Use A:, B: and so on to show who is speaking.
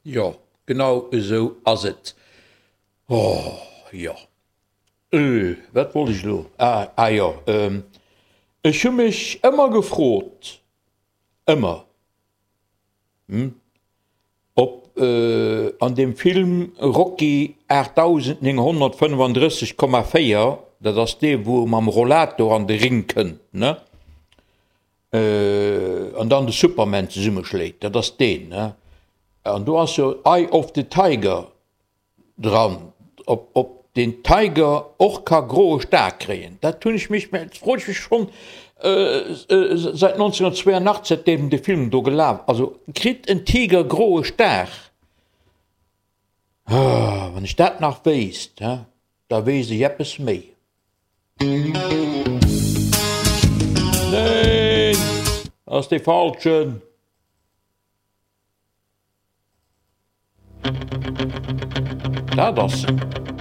A: Jo, genau esou ass et. Oh, jo. Äh, wat wollt ech elo? Ah, ah jo, ech hu mech ëmmer gefrot, ëmmer, hm, ob an deem Film Rocky 8935,4, dat ass dee wou e mam Rollator an de Ring kënnt, ne, an dann de Superman zesummeschléit, dat ass deen, ne, an do ass jo Eye of the Tiger dran, ob ob den Tiger och ka groe Star kréien, dat hunn ech mech, dat froen ech mech schonn säit 1982, säitdeem de Film do gelaf, also kritt en Tiger groe Star? Wann ech dat nach wéisst, da wéisst ech eppes méi. Neen, ass dee falschen. Dat ass se.